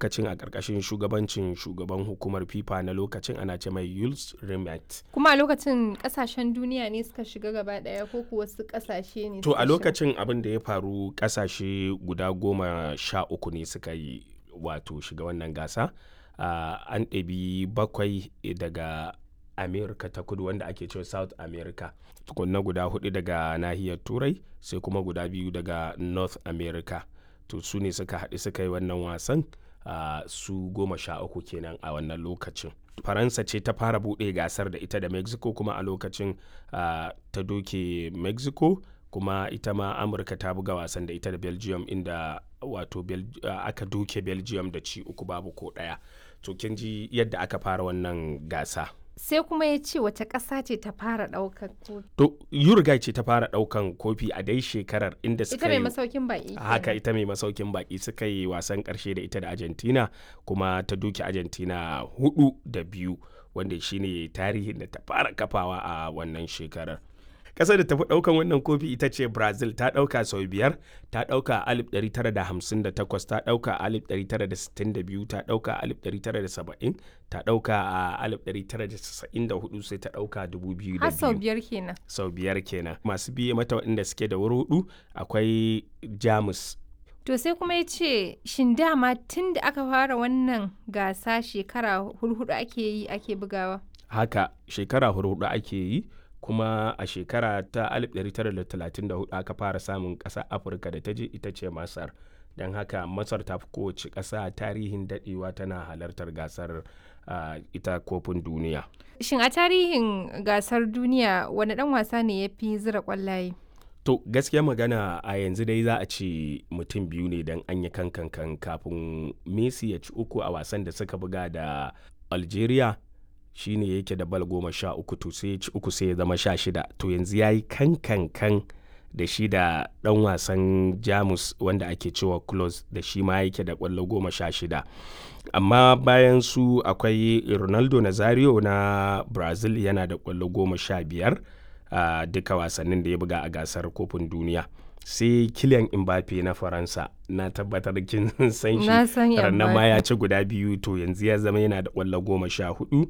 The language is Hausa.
Lokacin a ƙarƙashin shugabancin shugaban hukumar FIFA na lokacin, ana ce mai Jules Rimet. Kuma a lokacin kasashen duniya ne suka shiga gaba ɗaya ko kuwa wasu kasashe ne To suka a shiga? lokacin abin da ya faru, kasashe guda 13 ne suka yi wato shiga wannan gasa. An ɗabi bakwai daga America ta Kudu, wanda ake cewa South America. Tukunna guda hudu daga nahiyar Turai, sai kuma guda biyu daga North America. To su ne suka haɗu suka yi wannan wasan, su 13 kenan a wannan lokacin. Faransa ce ta fara buɗe gasar da ita da Mexico, kuma a lokacin ta doke Mexico. Kuma ita ma Amurka ta buga wasan da ita da Belgium, inda wato aka doke Belgium da ci uku babu ko ɗaya. To kin ji yadda aka fara wannan gasa. Sai kuma ya ce wace ƙasa ce ta fara ɗaukar kofi? To Uruguay ce ta fara ɗaukan kofi a dai shekarar, inda Ita suka mai yi masaukin baƙi haka kenan. Ita mai masaukin baki, suka yi wasan karshe da ita da Argentina, kuma ta doke Argentina 4-2, wanda shine tarihin da ta fara kafawa a wannan shekarar. Ƙasar da tafi ɗaukan wannan kofi ita ce Brazil, ta ɗauka sau biyar. Ta ɗauka a 1958, ta ɗauka a 1962, ta ɗauka a 1970, ta ɗauka a 1994, sai ta ɗauka 2002. Har sau biyar kenan. Sau biyar kenan. Masu biye mata waɗanda suke da wuri hudu akwai Jamus. To sai kuma ya ce shin dama tun da aka fara wannan gasa shekara hurhudu ake yi ake bugawa? Haka, shekara hudu ake yi, kuma a shekara ta 1934 aka fara samun ƙasa Afirka da ta je, ita ce Masar. Don haka Masar ta fi kowace ƙasa tarihin daɗewa tana halartar gasar, ita kofin duniya. Shin a tarihin gasar duniya wani ɗan wasa ne ya fi zira ƙwallaye? To gaskiya magana, a yanzu dai za a ce mutum biyu ne, don an yi kankan kafin Messi ya ci uku a wasan da suka buga da Algeria, shine yake da bal 13. To sai ya ci uku, sai ya zama 16. To yanzu ya yi kankankan da shi da ɗan wasan Jamus wanda ake cewa Klose, da shi ma yake da ƙwallo 16. Amma bayan su akwai Ronaldo Nazario na Brazil, yana da ƙwallo 15 a duka wasannin da ya buga a gasar kofin duniya. Sai Kylian Mbappe na Faransa, na tabbatar kin san shi. Na san Rannan ma Mbappe. ya ci guda biyu, to yanzu ya zama yana da ƙwallo 14.